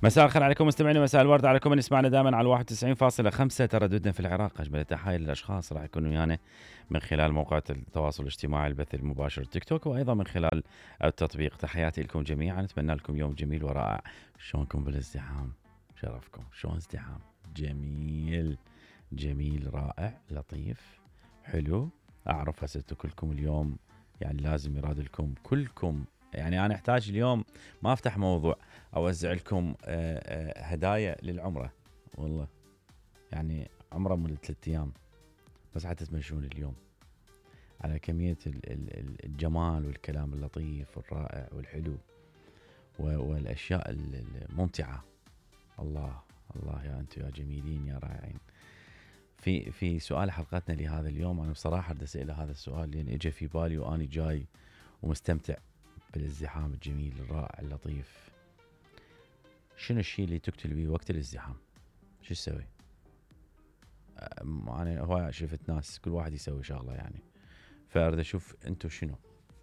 مساء الخير عليكم مستمعينا، مساء الورد عليكم من يسمعنا دائما على 91.5 ترددنا في العراق. اجمل التحايا للاشخاص راح يكونوا ويانا من خلال موقع التواصل الاجتماعي، البث المباشر تيك توك، وايضا من خلال التطبيق. تحياتي لكم جميعا، اتمنى لكم يوم جميل ورائع. شلونكم بالازدحام؟ شرفكم. شلون ازدحام؟ جميل جميل رائع لطيف حلو. اعرف هسه كلكم اليوم يعني لازم يراد لكم كلكم، يعني انا احتاج اليوم ما افتح موضوع اوزع لكم هدايا للعمره، والله يعني عمره من 3 ايام بس حتى تمشون اليوم على كميه الجمال والكلام اللطيف والرائع والحلو والاشياء الممتعه. الله الله يا انتم يا جميلين يا رائعين. في سؤال حلقتنا لهذا اليوم، انا بصراحه بدي اسال هذا السؤال لان اجى في بالي واني جاي ومستمتع بالازدحام الجميل الرائع اللطيف. شنو الشيء اللي تقتل بيه وقت الازدحام؟ شو تسوي؟ انا هواي شفت ناس كل واحد يسوي شغله يعني، فاريد اشوف انتم شنو.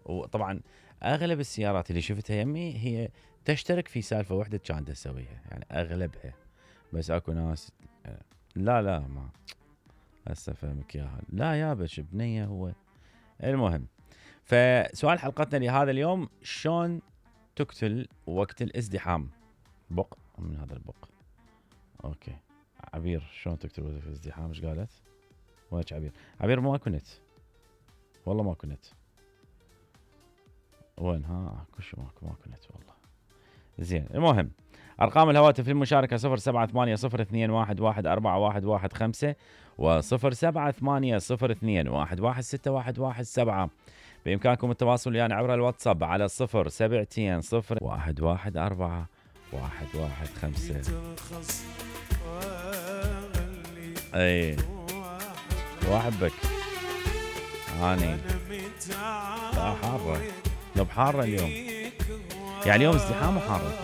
وطبعا اغلب السيارات اللي شفتها يمي هي تشترك في سالفه واحده كانت تسويها، يعني اغلبها. بس اكو ناس لا ما هسه فهمك اياها، لا يابش بنيه هو. المهم، فسؤال حلقتنا لهذا اليوم، شلون تقتل وقت الازدحام؟ بق من هذا البق. اوكي عبير، شلون تقتل وقت الازدحام؟ ايش قالت؟ وينك عبير؟ عبير ماكو نت، والله ماكو نت. وين؟ ها كل شيء ماكو نت والله. زين، المهم ارقام الهواتف للمشاركه 078021114115 و0780211617. بامكانكم التواصل يعني عبر الواتساب على 07201141115. اي واحبك هاني. لا حاره، لو بحاره اليوم، يعني اليوم ازدحام وحاره